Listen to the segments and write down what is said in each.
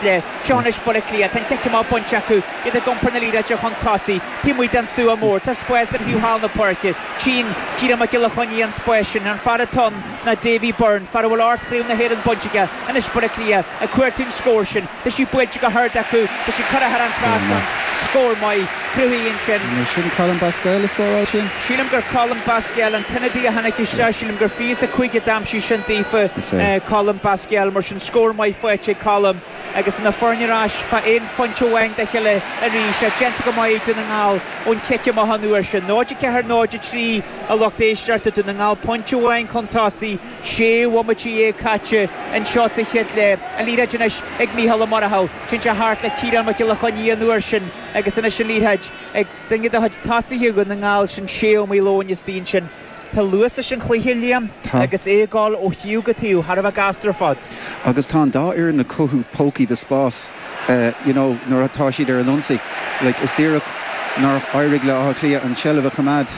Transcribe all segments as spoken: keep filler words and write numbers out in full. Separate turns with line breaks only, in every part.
chéad leath. Seo anois Baile Átha Cliath, tá an cic amach bainte acu, iad ag iompar na liathróide chun tosaigh, taobh amuigh den stua mór. Tá spás ar thaobh thall na páirce. Tchíonn Ciarán Mac Giolla Chainnigh an spás sin. An fear atá ann ná Davy Byrne, fear a bhfuil ocht Chraobh na hÉireann bainte aige. Anois Baile Átha Cliath ag cuartú an scóir sin. Tá sí buailte go hard acu. Tá sí curtha thar an trasnán. Scór maith cruthaithe ansin.
An é sin Colm Basquel a scóráil sin?
Sílim gur Colm Basquel an t-ionadaí a tháinig isteach. Sílim gur fiche is a cúig a d'aimsigh sin daofa,
Is é.
Colm Basquel. Mar sin scór maith faighte ag Colm agus na foirne ar ais fá aon phointe amháin dá chéile arís. Déanta go maith ag Dún na nGall ón chic amach an uair sin. náid a ceathair náid a trí a lucht éisteachta. Dún na nGall pointe amháin chun tosaigh, sé bhomaite dhéag caite anseo sa chéad leath. An liathróid anois ag Mícheál Ó Murchú. Téann sé thart le Ciarán Mac Giolla Chainnigh an uair sin agus anois an liathróid ag duine de chuid tosaithe Dhún na nGall, sin Shea Ó Maoileoin istigh ansin. Tá luas leis an chluiche, Liam,
Tá.
agus é ag dul ó thaobh go taobh thar a bheith gasta ar fad.
Agus tá an dá fhoireann ag cothú pócaí de spás, uh, you know, nuair atá siad ar an ionsaí. Like, is díreach nár éirigh le Áth Cliath an tseilbh a choimeád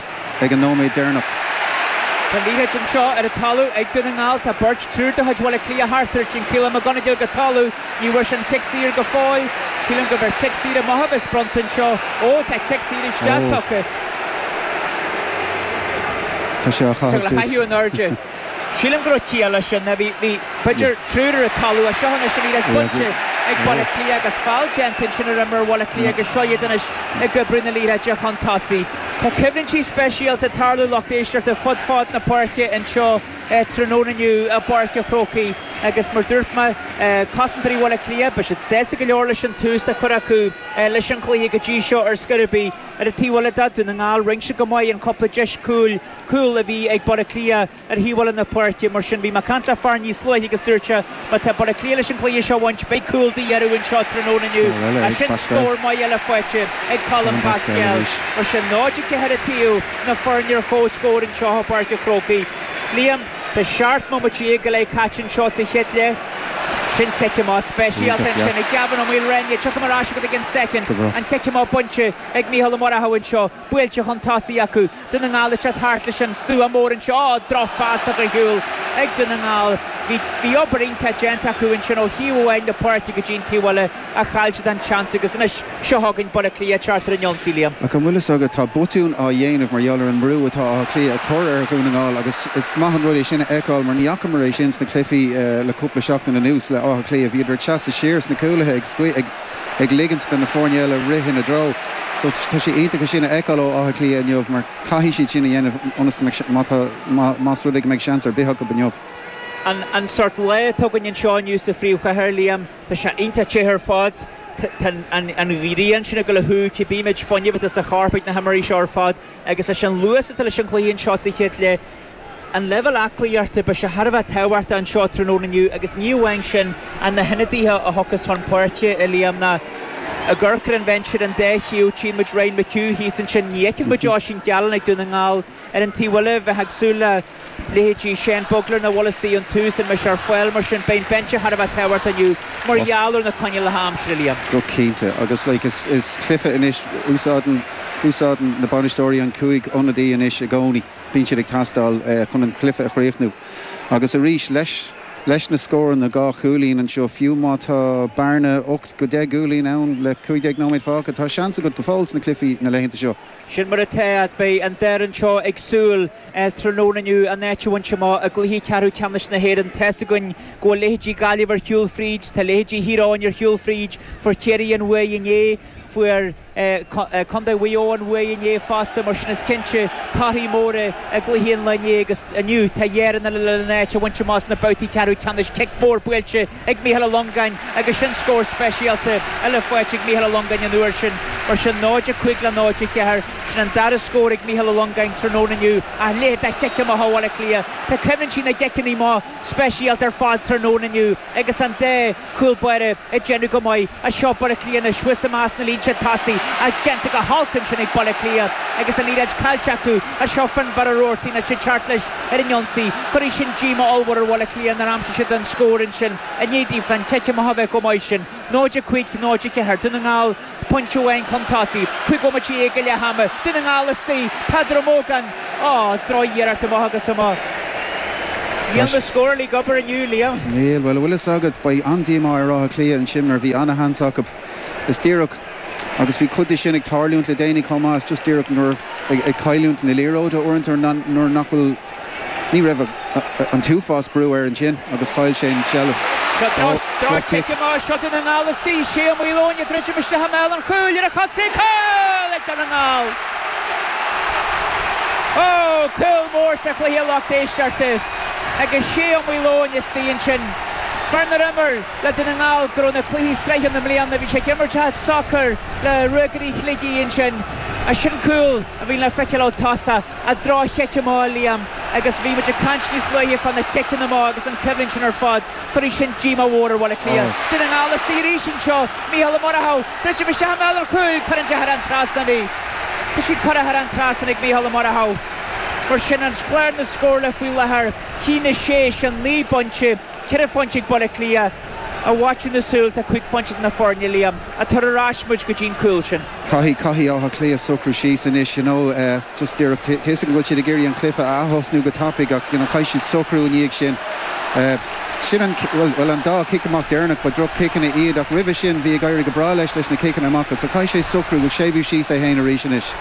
ag an nóiméad deireanach.
Tá liathróid anseo ar an talamh ag Dún na nGall. Tá beirt, triúr de chuid Bhaile Átha Cliath thart air. Téann Caolan McGonigle go talamh. Ní bhfuair sé an chic saor go fóill. Sílim go bhfuil cic saor amach a bheas bronnta anseo. Ó, tá cic saor isteach
Ó.
tugtha.
Tá sé á
Tá le
chaitheamh suas.
haiú in airde. Sílim go raibh ciall leis sin. Bhí bhí b'fhéidir triúr ar an talamh. Seo anois an liathróid bainte ag Baile Átha Cliath agus feall déanta ansin ar imreoir Bhaile Átha Cliath agus seo iad anois ag oibriú na liathróide chun tosaigh. Tá coimhlintí speisialta ag tarlú, lucht éisteachta, fud fad na páirce anseo tráthnóna inniu i bPáirc an Chrócaigh agus mar dúirt mé, cosantóirí Bhaile Átha Cliath, beidh siad sásta go leor leis an tús atá curtha acu leis an chluiche go dtí seo ar scor ar bith. Ar an taobh eile de, Dún na nGall, rinne siad go maith an cúpla deis cúil cúl a bhí ag Baile Átha Cliath ar thaobh eile na páirce. Mar sin bhí mé ag caint le fear níos luaithe agus dúirt sé má tá Baile Átha Cliath leis an chluiche seo a bhaint, beidh cúl de dhíth orthu anseo tráthnóna inniu.
Scór eile ag
Sin
Basquel.
scór maith eile faighte ag Colm
Colm Basquel
Basquel.
arís.
Mar sin náid a ceathair a taobh na foirne ar comhscór anseo i bPáirc an Chrócaigh. Liam, tá seacht mbomaite déag go leith caite anseo sa chéad leath. Sin cic amach speisialta
Iontach,
ansin
yeah.
ag Gavin Ó Maoilréine. Tiocfaidh mar ais agat i gceann soicind.
Go breá.
An cic amach bainte ag Mícheál Ó Murchú anseo. Buailte chun tosaigh acu. Dún na nGall ag teacht thart leis an stua mór anseo. Ó, drochphas ar shiúl ag Dún na nGall. Bhí bhí obair iontach déanta acu ansin ó thaobh amháin na páirce go dtí an taobh eile a chaill siad an seans agus anois seo chugainn Baile Átha Cliath teacht ar an ionsaí, Liam.
Ach an bhfuil fhios agat, tá botún á dhéanamh mar gheall ar an mbrú atá Áth Cliath a chur ar Dhún na nGall agus is maith an rud é sin a fheiceáil mar ní fhacamar é sin sna cluichí uh, le cúpla seachtain anuas le Áth Cliath. Bhíodar ag seasamh siar sna cúlaithe ag scaoi ag ag ligint do na foirne eile rith ina dtreo. So tá sé iontach sin a fheiceáil ó Áth Cliath inniu mar caithfidh siad sin a dhéanamh ionas go mbeidh se- má tá- má- más rud é go mbeidh seans ar bith acu inniu.
An, an sort lá atá againn anseo inniu sa phríomhchathair, Liam, tá sé iontach te ar fad. Tá an, an ghrian sin ag dul a shú, cibé méid fuinnimh atá sa chorp ag na himreoirí seo ar fad agus leis an luas atá leis an chluiche anseo sa chéad leath. An leibhéal aclaíochta, beidh sé thar a bheith tábhachtach anseo tráthnóna inniu agus ní amháin sin an na hionadaithe a thiocfas chun páirce, a Liam, ná ag amharc ar an bhinse ar an dá thaobh. Tchíonn muid Ryan McHugh thíos ansin, ní fheiceann muid Oisín Gallen ag Dún na nGall. Ar an taobh eile bheith ag súil le leithéidí Shane Bugler na bhfuil an tús an mbeidh sé ar fáil. Mar sin beidh binse thar a bheith tábhachtach inniu mar gheall ar na coinníollacha aimsire, Liam.
Go cinnte agus like, is, is cluiche anois úsáideann úsáideann na bainisteoirí an cúig ionadaí anois i gcónaí. Bíonn siad ag teastáil uh, chun an cluiche a chríochnú. Agus arís leis leis na scóranna na dhá chúilín anseo, fiú má tá bearna ocht go deich gcúilín ann le cúig déag nóiméad fágtha, tá seans agat go fóill sna cluichí na laethanta seo.
Sin mar atá. Beidh an dara seo ag súil tráthnóna inniu an áit a bhaint amach i gcluiche ceathrú ceannais na hÉireann. Tá a fhios againn go bhfuil leithéidí Gaillimh ar shiúl fríd, tá leithéidí Thír Eoghain ar shiúl fríd, fuair Ciarraí an bua inné, fuair Contae Mhaigh Eo an bua inné fosta. Mar sin is cinnte torthaí móra i gcluichí an lae inné agus inniu tá Éirinn le an áit a bhaint amach sna babhtaí ceathrú ceannais. Cic mór buailte ag Mícheál Ó Longáin agus sin scór speisialta eile faighte ag Mícheál Ó Longáin an uair sin. Mar sin náid a cúig le náid a ceathair, sin an dara scór ag Mícheál Ó Longáin tráthnóna inniu. A leithéid de chic amach ó Bhaile Átha Cliath. Tá coimhlintí na gciceanna amach speisialta ar fad tráthnóna inniu agus an dá chúl báire ag déanamh go maith. A seo Baile Átha Cliath anois thuas amach na línte tosaigh a déanta go holc ansin ag Baile Átha Cliath agus an liathróid caillte acu. A seo Finbar Ó Roarty na sé teacht leis ar an ionsaí. Chuir sin díomá ollmhór ar Bhaile Átha Cliath nár aimsigh siad an scór ansin i ndiaidh an cic amach a bheith go maith sin. náid a cúig náid a ceathair, Dún na nGall pointe amháin chun tosaigh. Cúig bhomaite déag go leath ama. Dún na nGall istigh. Peadar Ó Mógáin, á, drochiarracht amach agus amach. Níl na scórálaithe ag obair inniu, Liam.
Níl, bhuel, bhfuil fhios agat, beidh an-díomá ar Áth Cliath ansin mar bhí an-sheans acu. Is díreach agus bhí cuid de sin ag tarlúint le déanaí chomh maith, is just díreach nuair ag cailliúint na liathróide uaireanta nuair nach bhfuil ní raibh an t-uafás brú air ansin agus chaill sé an tseilbh.
Seo droch-chic amach, seo Dún na nGall istigh, Shea Ó Maoileoin ag druidim isteach i mbéal an chúil ar a chos chlé, cúl ag Dún na nGall! Ó, cúl mór sa chluiche a lucht éisteachta agus Shea Ó Maoileoin istigh ansin. Fear nár imir le Dún na nGall go raibh na cluichí sraithe ann i mbliana, bhí sé ag imirt a chuid sacair le Ruagairí Shligigh ansin. Ach sin cúl a bhí le feiceáil ó tosach, a droch-chic amach, Liam, agus bhí muid ag caint níos luaithe fá na ciceanna amach agus an choimhlint sin ar fad, cuirfidh sin díomá mhór ar Bhaile Átha Cliath. Dún na nGall istigh arís anseo, Mícheál Ó Murchú, druidim isteach i mbéal an chúil, cuireann sé thar an trasnán í. Tá sí curtha thar an trasnán ag Mícheál Ó Murchú. Mar sin an clár na scórála faoi láthair, a haon a sé, sin naoi bpointe, ceithre phointe ag Baile Átha Cliath. I bhfaiteadh na súl tá cúig phointe idir na foirne, Liam. Ach tar ar ais muid go dtí an cúl sin.
Caithfidh, caithfidh Áth Cliath socrú síos anois, you know, just díreach, tá fhios agam go bhfuil siad ag iarraidh an cluiche a aththosnú go tapaidh ach, you know, caithfidh siad socrú i ndiaidh sin. Sin an, bhuel, bhuel an dá chic amach deireanach, ba droch-chiceanna iad ach roimhe sin bhí ag éirí go breá leis leis na ciceanna amach so caithfidh sé socrú, séimhiú síos é féin arís anois.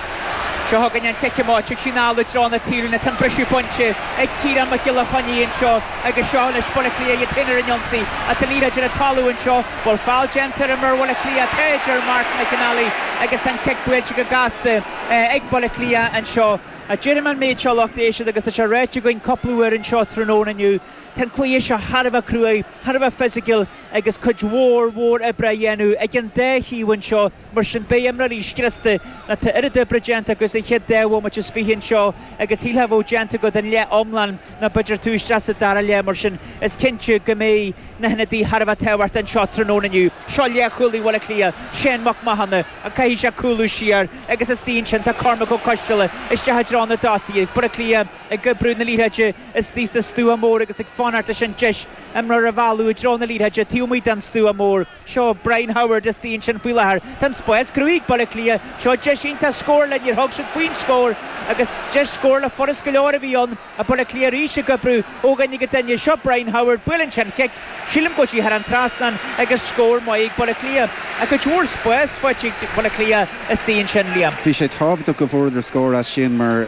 Seo chugainn an cic amach, tig sí anall i dtreo na taobhlíne, tá an briseadh bainte ag Ciarán Mac Giolla Chainnigh anseo agus seo anois Baile Átha Cliath iad féin ar an ionsaí ach tá liathróid ar an talamh anseo. Bhfuil feall déanta ar imreoir Bhaile Átha Cliath, tá, a deir Mark McAnally agus tá an cic buailte go gasta ag Baile Átha Cliath anseo. Déarfaidh mé an méid seo lucht éisteachta agus tá sé ráite againn cúpla uair anseo tráthnóna inniu, tá an cluiche seo thar a bheith cruaidh, thar a bheith fisiciúil agus cuid mhór mhór oibre á dhéanamh ag an dá thaobh anseo. Mar sin beidh imreoirí scriosta nó tá oiread oibre déanta acu sa chéad dá bhomaite is fiche anseo agus shílfeá a bheadh déanta acu don leath iomlán nó b'fhéidir tú isteach sa dara leath. Mar sin is cinnte go mbeidh na hionadaithe thar a bheith tábhachtach anseo tráthnóna inniu. Seo leathchúlaí Bhaile Átha Cliath, Shane Mac Mathúna, ach caithfidh sé cúlú siar agus istigh ansin tá Cormac Ó Coisteala isteach i dtreo na dtosaithe. Baile Átha Cliath ag oibriú na liathróide istigh sa stua mór agus ag fanacht leis an deis imreoir a mhealladh i dtreo na liathróide taobh amuigh den stua mór. Seo Brian Howard istigh ansin faoi láthair. Tá an spás cruthaithe ag Baile Átha Cliath. Seo deis iontach scórála, níor thug siad faoin scór agus deis scórála furast go leor a bhí ann. A Baile Átha Cliath arís ag oibriú ó dhuine go duine. Seo Brian Howard, buaileann sé an chic. Sílim go bhfuil sí thar an trasnán agus scór maith ag Baile Átha Cliath. Ach cuid mhór spáis faighte ag Baile Átha Cliath istigh ansin, Liam.
Bhí sé tábhachtach go bhfuaireadar scór as sin mar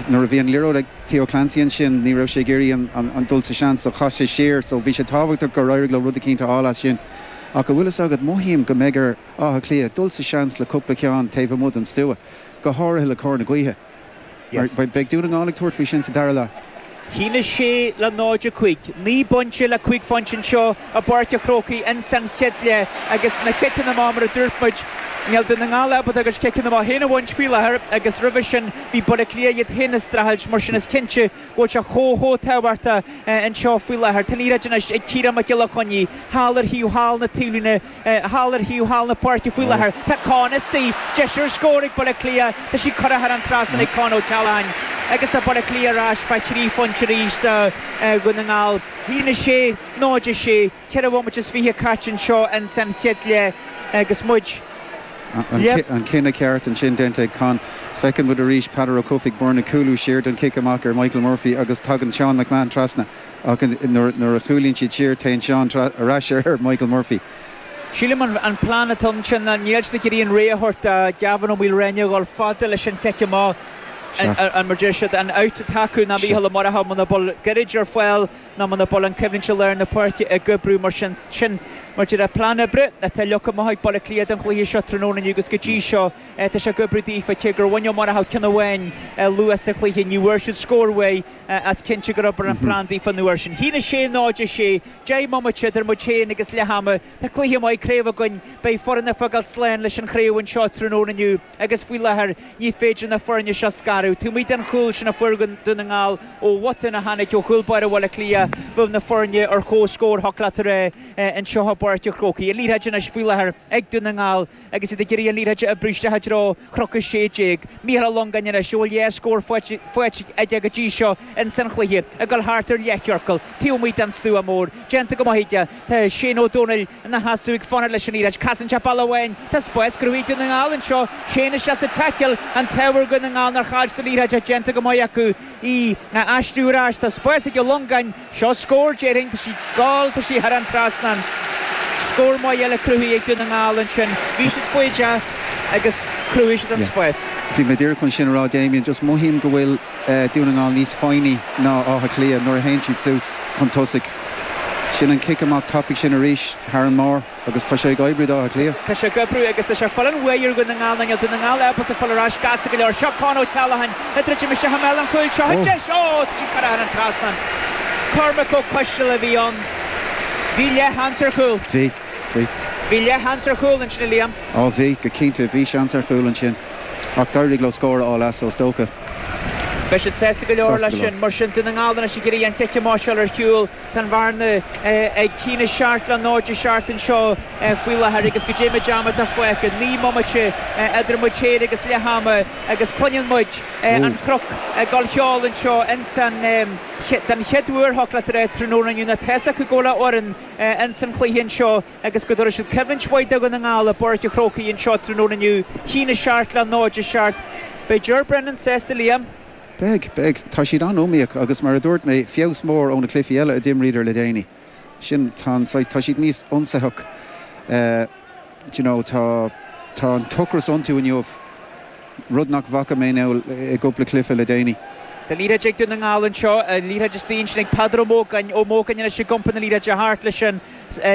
nuair a bhí an liathróid ag Theo Clancy ansin ní raibh sé ag iarraidh an dul sa seans so chaith sé siar so bhí sé tábhachtach gur éirigh leo rud eicínt a fháil as sin. Ach go bhfuil fhios agat mothaím go mbeidh ar Áth Cliath dul sa seans le cúpla ceann taobh amuigh den stua, go háirithe le cor na gaoithe. Beidh Dún na nGall ag tabhairt faoi sin sa dara leath.
A haon a sé le náid a cúig, naoi bpointe le cúig phointe anseo i bPáirc an Chrócaigh ins an chéad leath agus na ciceanna amach mar a dúirt muid, níl Dún na nGall ábalta a gcuid ciceanna amach féin a bhaint faoi láthair agus roimhe sin bhí Baile Átha Cliath iad féin ag streachailt mar sin is cinnte go bhfuil sé chomh chomh tábhachtach anseo faoi láthair. Tá an liathróid anois ag Ciarán Mac Giolla Chainnigh thall ar thaobh thall na taobhlíne, thall ar thaobh thall na páirce faoi láthair. Tá Con istigh, deis ar scór ag Baile Átha Cliath, tá sí curtha thar an trasnán ag Con O'Callaghan agus tá Baile Átha Cliath ar ais fá thrí phointe arís do Dhún na nGall. A haon a sé, náid a sé, ceithre bhomaite is fiche caite anseo ins an chéad leath agus muid
An cinneadh ceart ansin déanta ag Con. Feiceann muid arís Peadar Ó Cofaigh Byrne cúlú siar don chic amach ar Michael Murphy agus tagann Sean McMahon trasna ach nuair a chúlaíonn siad siar téann Sean ar ais ar Michael Murphy.
Sílim an plean atá ansin ná níl siad ag iarraidh an ré a thabhairt do Gavin Ó Maoilréine a dhul fada leis an chic amach an mar deir siad an out atá acu ná Mícheál Ó Murchú muna bhfuil goirid ar fáil ná muna bhfuil an choimhlint i lár na páirce ag oibriú mar sin sin mar deir plean oibre atá leagtha amach ag Baile Átha Cliath don chluiche seo tráthnóna inniu agus go dtí seo tá sé ag oibriú daofa cé gur bhain Ó Murchú ceann amháin luath sa chluiche ní bhfuair siad scór uaidh as cinnte gur obair an plean daofa an uair sin. A haon a sé náid a sé, deich mbomaite idir muid féin agus leath ama. Tá cluiche maith craoibhe againn, beidh foireann ag fágáil slán leis an chraobh anseo tráthnóna inniu agus faoi láthair ní féidir na foirne seo scaradh. Taobh amuigh den chúl sin a fuair Dún na nGall ó bhotún a tháinig ó chúl báire Bhaile Átha Cliath, bheadh na foirne ar comhscór thiocfadh leat a rá anseo i bPáirc bPáirc an Chrócaigh. An liathróid anois faoi láthair ag Dún na nGall agus iad ag iarraidh an liathróid a oibriú isteach i dtreo Chnoc a sé déag. Micheál Ó Longáin anois, a bhfuil dhá scór faighte aige go dtí seo ins an chluiche, ag dul thart ar leathchiorcal taobh amuigh den stua mór. Déanta go maith aige. Tá Shane Ó Dónaill ina sheasamh ag fanacht leis an liathróid. Casann sé bealach amháin. Tá spás cruthaithe ag Dún na nGall anseo. Shane isteach sa taicil. An t-ádh ar Dhún na nGall nár chaill siad an liathróid ach déanta go maith acu í a aistriú ar ais. Tá spás ag Ó Longáin. Seo scór, déarfainn. Tá sí ag gabháil, tá sí thar an trasnán. Scór maith eile cruthaithe ag Dún na nGall ansin. Bhí siad foighdeach agus chruthaigh siad an spás.
Bhí mé díreach chun sin a rá Damien, just mothaím go bhfuil Dún na nGall níos foighní ná Áth Cliath nuair a théann siad suas chun tosaigh. Sin an cic amach tapaidh sin arís thar an mbarr agus tá sé ag oibriú d'Áth Cliath.
Tá sé ag oibriú agus tá sé ag fáil an bhuaidh ar Dhún na nGall nó níl Dún na nGall ábalta fáil ar ais gasta go leor. Seo Con Ó Ceallacháin ag druidim isteach i mbéal an chúil. Seo an deis! Ó, tá sí curtha thar an trasnán. Cormac Ó Coisteala a bhí ann. Bhí leathsheans ar chúl.
Bhí, bhí.
Bhí leathsheans ar chúl ansin, a Liam.
Á bhí, go cinnte, bhí seans ar chúl ansin. Ach d'éirigh leo scór a fháil as, is dócha.
Beidh siad sásta go leor leis sin. Mar sin, Dún na nGall anois ag iarraidh an cic amach seo ar shiúl. Tá an bhearna ag haon a seacht le náid a seacht anseo faoi láthair agus goidé méid ama atá fágtha. Naoi mbomaite idir muid féin agus leath ama agus cluineann muid an Chnoc ag dul cheol anseo insan den chéad uair thiocfadh leat a rá tráthnóna inniu. Nó tá's acu go bhfuil a fhoireann insan chluiche anseo agus go dtabharfaidh siad coimhlint mhaith do Dhún na nGall i bPáirc an Chrócaigh anseo tráthnóna inniu. Haon a seacht le náid a seacht. Beidh Ger Brennan sásta Liam.
Beidh, beidh. Tá siad an-iomaíoch agus mar a dúirt mé, feabhas mór ó na cluichí eile a d'imríodar le déanaí. Sin tá an tá siad níos ionsaitheach. Uh, you know, tá tá an t-ocras iontu inniu rud nach bhfaca mé nó i gcúpla cluiche le déanaí.
Tá liathróid ag Dún na nGall anseo, liathróid istigh ansin ag Peadar Ó Mógáin, Ó Mógáin anois ag iompar na liathróide thart leis an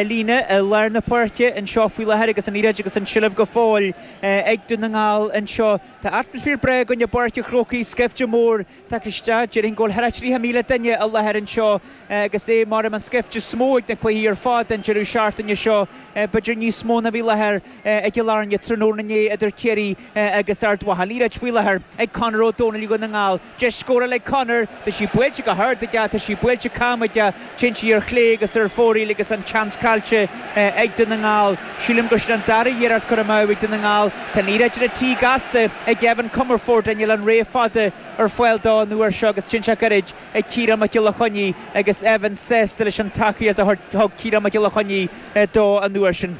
líne i lár na páirce anseo faoi láthair agus an liathróid agus an tseilbh go fóill ag Dún na nGall anseo. Tá atmaisféar breá againn i bPáirc an Chrócaigh, scaifte mór tagtha isteach, déarfainn go bhfuil thart ar tríocha míle duine i láthair anseo agus é mar an scaifte is mó ag na cluichí ar fad an deireadh seachtaine seo, b'fhéidir níos mó ná bhí i láthair i gCill Airne tráthnóna inné idir Ciarraí agus Ard Mhacha. Liathróid faoi láthair ag Conor Ó Dónaill Dhún na nGall. Deis scórála ag Conor, tá sí buailte go hard aige, tá sí buailte cam aige, téann sí ar chlé agus ar fóraoil agus an seans caillte ag Dún na nGall. Sílim gur sin an dara hiarracht curtha amú ag Dún na nGall. Tá an liathróid ar tí gasta ag Evan Comerford níl an ré fada ar fáil dó an uair seo agus sin sé gairid ag Ciarán Mac Giolla Chainnigh agus Evan sásta leis an tacaíocht a thug Ciarán Mac Giolla Chainnigh dó an uair sin.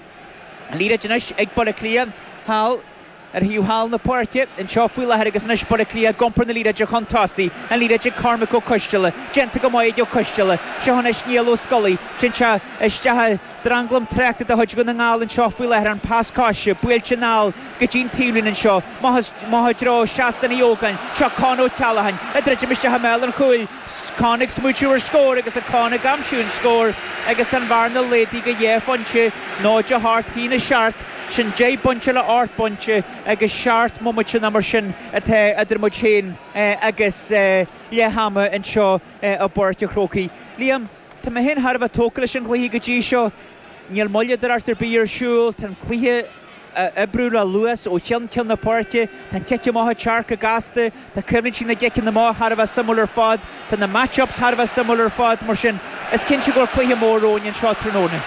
An liathróid anois ag Baile Átha Cliath thall ar thaobh thall na páirce anseo faoi láthair agus anois Baile Átha Cliath ag iompar na liathróide chun tosaigh. An liathróid ag Cormac Ó Coisteala. Déanta go maith ag Ó Coisteala. Seo anois Niall Ó Scolaí. Téann sé isteach i dtranglam tráchta de chuid Dhún na nGall anseo faoi láthair an pas coise buailte anall go dtí'n taobhlíne anseo. Amach i dtreo Seastán Uí Ógáin. Seo Con Ó Ceallacháin. Ag druidim isteach i mbéal an chúil. Con ag smaoitiú ar scór agus a Con ag aimsiú an scór agus an bhearna laghdaithe go dhá phointe náid a hocht haon a seacht. Sin deich bpointe le ocht bpointe agus seacht mbomaite nó mar sin atá idir muid féin agus leath ama anseo i bPáirc an Chrócaigh. Liam, tá mé féin thar a bheith tógtha leis an chluiche go dtí seo. Níl moilleadóireacht ar bith ar siúl, tá an cluiche ag oibriú le luas ó cheann ceann na páirce, tá an cic amach ag teacht go gasta, tá coimhlintí na gciceanna amach thar a bheith suimiúil ar fad, tá na match-ups thar a bheith suimiúil ar fad, mar sin is cinnte go bhfuil cluiche mór romhainn anseo tráthnóna.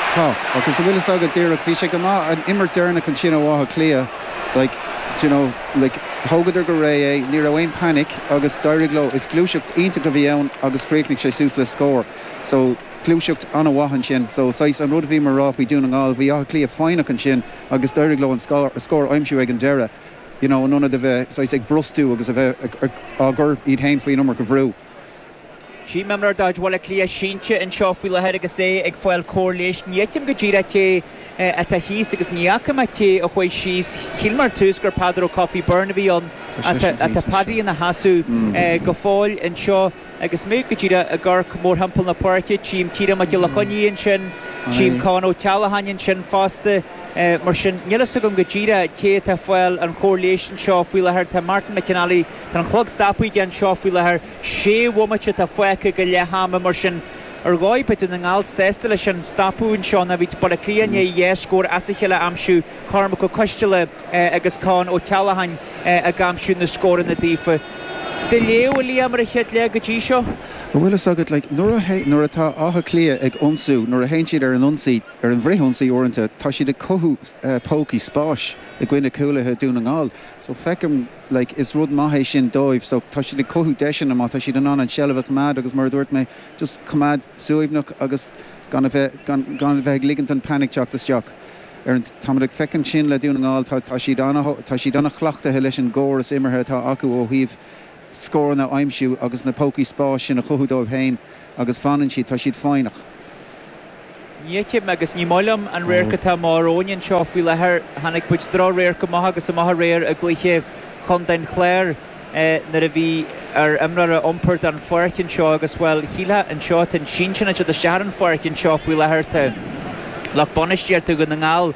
Tá, agus an bhfuil fhios agat díreach, bhí sé go maith an imirt deireanach ansin ó Áth Cliath, like, you know, like, thógadar go réidh é, ní raibh aon panic agus d'éirigh leo, is gluaiseacht iontach a bhí ann agus chríochnaigh sé suas le scór. So gluaiseacht an-mhaith ansin, so saghas an rud a bhí mar rá faoi Dún na nGall, bhí Áth Cliath foighneach ansin agus d'éirigh leo an scór, scór a aimsiú ag an deireadh, you know, in ionad a bheith saghas ag brostú agus a bheith á gcur iad féin faoin iomarca bhrú.
Tchím imreoir de chuid Bhaile Átha Cliath sínte anseo faoi láthair agus é ag fáil cóir leighis. Ní fheicim go díreach cé atá thíos agus ní fhaca mé cé a chuaigh síos. Shíl mé ar tús gur Peadar Ó Cofaigh Byrne a bhí ann atá Paddy ina sheasamh go fóill anseo agus mé go díreach ag amharc mórthimpeall na páirce. Tchím Ciarán Mac Giolla Chainnigh ansin, tchím Con Ó Ceallacháin ansin fosta. Mar sin níl fhios agam go díreach cé atá ag fáil an chóir leighis anseo faoi láthair. Tá Martin McInally, tá an clog stoptha aige anseo faoi láthair. Sé bhomaite atá fágtha go leath ama mar sin ar dhóigh beidh Dún na nGall sásta leis an stopadh anseo ná bhí Baile Átha Cliath i ndiaidh dhá scór as a chéile a aimsiú Cormac Ó Coisteala agus Con Ó Ceallacháin ag aimsiú na scóranna daofa. Do léamh a Liam ar an chéad leath go dtí seo?
Bhuel Bhfuil fhios agat like, nuair atá Áth Cliath ag ionsú nuair a théann siad ar an ionsaí ar an bhfrithionsaí uaireanta tá siad ag cothú uh, pócaí spáis i gcoinne cúlaithe Dún na nGall. So feicim like, is rud maith é sin dóibh, so tá siad ag cothú deiseanna má tá siad in ann an seilbh a choimeád agus mar dúirt mé just coimeád suaimhneach agus gan a bheith gan, gan a bheith ag ligint an panic teacht isteach. Ar an táimid ag feiceáil sin le Dún na nGall tá, tá siad tá siad an-chleachtaithe leis an gcóras imeartha atá acu ó thaobh scóranna a aimsiú agus na pócaí spáis sin a chothú dóibh féin agus fanann siad tá siad foighneach.
Ní agus ní maith liom an radharc atá mar óin seo faoi láthair tháinig muid drochradharc amach agus amach aréir i gcluiche Chontae an Chláir nuair a bhí ar imreoir a iompar den pháirc anseo agus bhuel shílfeá anseo an sinsean isteach an pháirc anseo faoi láthair tá lucht bainistíochta Dhún na nGall